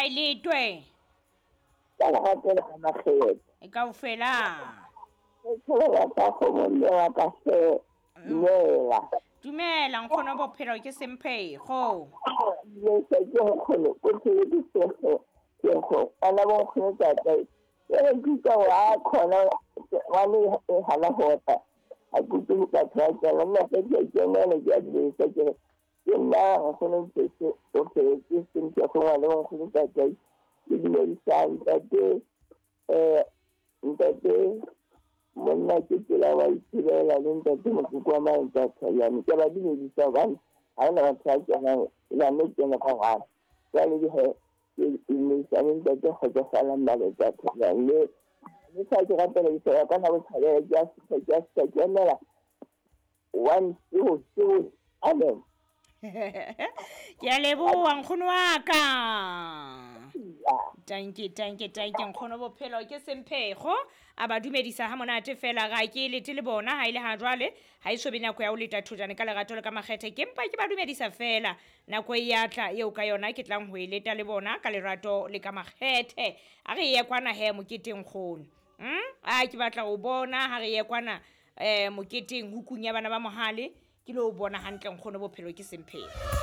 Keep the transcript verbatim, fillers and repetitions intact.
Ha e letwe. Ka lerato le ka makgethe. E kaofela. Ke tsholela ka kgomo mme wa ka hle. Dumela. Dumela nkgono bophelo ke semphego. Le se ke nkgono o phele ke sego. Ke go ana bo nkgono tata. Ke re ke utlwa hore a khona ngwane e hana ho tla. Ha ke utlwe batho ba kena nna ke ke kenela ke a dumedisa ke re ke nna nkgono Mphethe o phele ke semphego ngwana bo nkgono tata. Ke dumedisa ntate eh ntate monna ke tsela wa itshelela le ntate mokoko wa maeta Tshayane. Ke ba dumedisa hobane ha hona batho ba kenang e ba no kena ka ngwana. Jwale ke he ke dumedisa le ntate Kgotsofalang Maleta Tshayane. Le le sa ke rapela ke ka na bothabela ke a fihla ke a fihla ke emela one two two amen. Ke a leboha nkgono wa ka. Tanke tanke tanke nkgono bophelo ke semphego a ba dumedisa ha monate fela ga ke lete le bona ha ile ha jwale ha e so be nako ya ho leta thojane ka lerato le ka makgethe ke mpa ke ba dumedisa fela nako e ya tla eo ka yona ke tlang ho e leta le bona ka lerato le ka makgethe a re ye kwana he moketeng nkgono mm a ke batla ho bona ha re ye kwana eh moketeng hukung ya bana ba mohale ke lo bona hantle nkgono bophelo ke semphego.